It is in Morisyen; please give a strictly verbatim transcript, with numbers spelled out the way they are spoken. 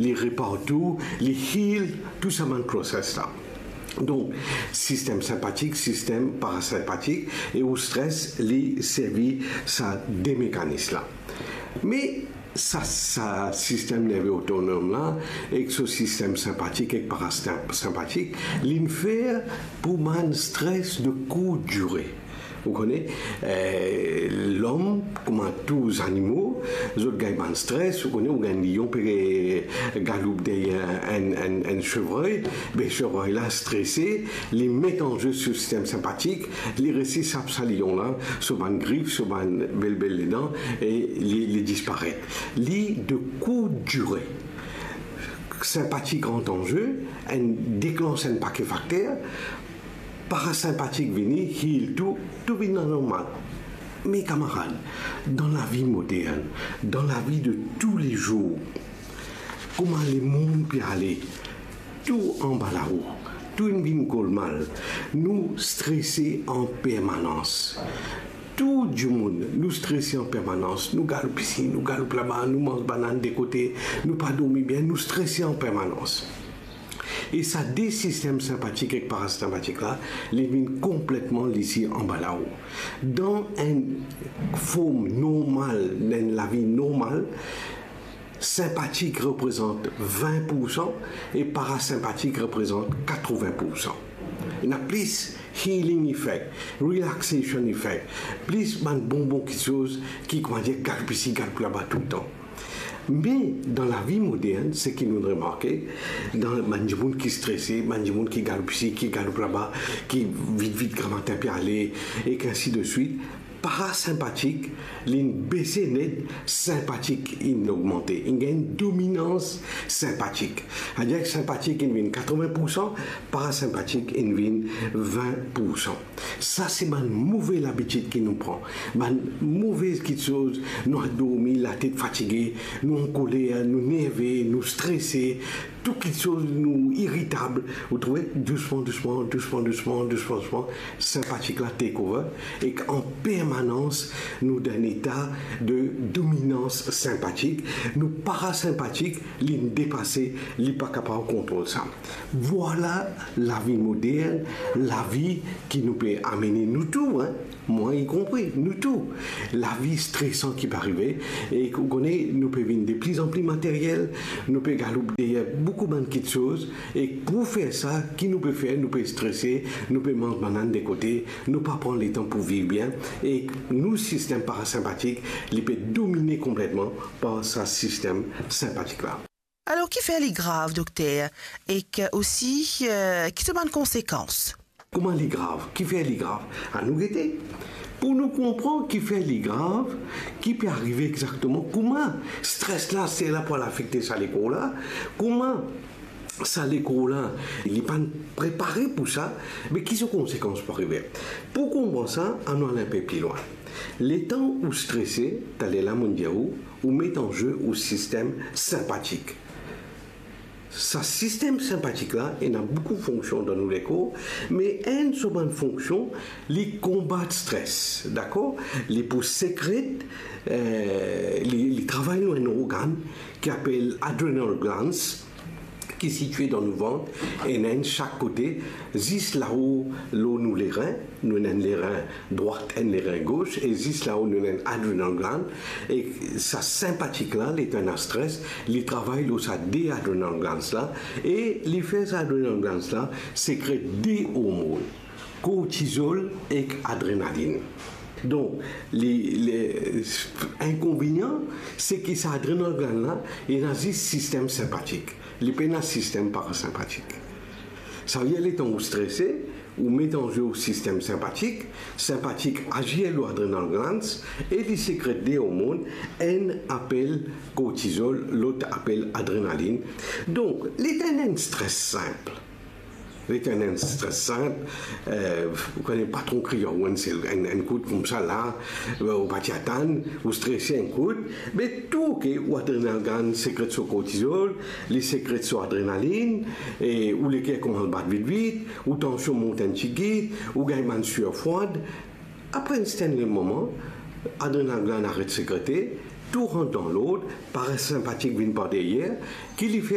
li repar tou, li heal tou sa bann process la. Donk, sistem sinpatik, sistem parasinpatik, e ou stres, li servi sa de mekanis la. Me sa, sa sistem nerve otonom la, ek so sistem sinpatik ek parasinpatik, li'nn fer pou bann stres de kourt dire. Ou kone, eh, lom, kouma tou zanimo, zot gagn bann stres. Ou kone, ou gagn lion pe galoup deryer enn, enn, enn sevrey, be sevrey la strese, li met an ze so sistem sinpatik, li resi sap sa lion la, so bann grif, so bann bel, bel ledan, e li, li disparet. Li de kourt dire. Sinpatik rant an ze, enn deklans enn pake fakter, parasinpatik vini, heal tou, tou vinn normal. Me kamarad, dan lavi modern, dan lavi de toulezour, kouma lemond pe ale, tou anba lao, tou inn vinn golmal, nou strese an permanans. Tou dimoun, nou strese an permanans, nou galoup isi, nou galoup laba, nou manz banann de kote, nou pa dormi bien, nou strese an permanans. E sa de sistem sinpatik ek parasinpatik la, li vinn konpletman lese anba lao. Dan enn form normal, dan enn lavi normal, sinpatik reprezant vin poursan e parasinpatik reprezant katrevin poursan. Ena plis healing effect, relaxation effect, plis bann bon bon kiksoz ki, koumadir, galoup isi, galoup laba toultan. Me dan lavi modern, seki nou remarke, dan bann dimoun ki strese, bann dimoun ki galoup isi, ki galoup laba, ki vit vit gramatin pe ale, ek ainsi de suite, parasinpatik, li'nn bese net, sinpatik inn ogmante, inn gagn dominans sinpatik. Savedir sinpatik inn vinn katrevin poursan, parasinpatik inn vinn vin poursan. Sa se bann move labitid ki nou pran, bann move kiksoz, nou al dormi, latet fatige, nou ankoler, nou nerve, nou strese, tou kiksoz nou iritab, ou trouve, dousman, dousman, dousman, dousman, dousman, dousman, sinpatik la take over, ek an permanans nou dan enn eta de dominans sinpatik, nou parasinpatik, li'nn depase, li pa kapav kontrol sa. Vwala lavi modern, lavi ki nou pe amene nou tou, hein, mwa inkonpri, nou tou. Lavi stresan ki pe arive, e ou kone, nou pe vinn de pli an pli materyel, nou pe galoup deryer boukou bann kiksoz, e pou fer sa, ki nou pe fer, nou pe strese, nou pe manz banann de kote, nou pa pran letan pou viv bien, e nou sistem parasinpatik, li pe domine konpletman par sa sistem sinpatik la. Alor, kifer li grav, dokter? Ek osi, eh, ki so bann konsekans? Kouma li grav? Kifer li grav? Anou gete. Pou nou konpran kifer li grav, ki pe arive exakteman, kouma stres la, ser la pou al afekte sa lekor la, kouma sa lekor la, li pa'nn prepare pou sa, me ki so konsekans pou arive? Pou konpran sa, anou al inpe pli lwin. Letan ou strese, taler la mo'nn dir ou, ou met an ze ou sistem sinpatik. Sa sistem sinpatik la, ena boukou fonksion dan nou lekor, me enn so bann fonksion, li konbat stres, dakor? Li pou sekret, eh, li, li travay lor enn organ ki apel adrenal glands, ki sitie dan nou vant, ena enn sak kote, zis lao lor nou lerin, nou ena enn lerin drwat, enn lerin gos, e zis lao nou ena enn adrenal gland, e sa sinpatik la, letan ena stres, li travay lor sa de adrenal glands la, e li fer sa adrenal glands la sekret de ormon, kortizol ek adrenalinn. Donk, li, li, inkonvenian, se ki sa adrenal gland la, ena zis sistem sinpatik. Li pena sistem parasinpatik. Savedir letan ou strese, ou met an ze ou sistem sinpatik, sinpatik azir lor adrenal glands e li sekret de ormon, enn apel kortizol, lot apel adrenalinn. Donk, letan enn stres sinp, letan enn stres sinp, eh, ou kone patron kriy ou enn sel, enn, enn kout koumsa la, eh, ou pa ti atann, ou strese enn kout, me tou oke, ou adrenal gland sekret so kortizol, li sekret so adrenalinn, e ou leker koumans bat vit vit, ou tansion mont enn tigit, ou gagn bann sir fwad. Apre enn sertenn moman, adrenal gland aret sekrete, tou rant dan lord, parasinpatik vinn par deryer, ki li fer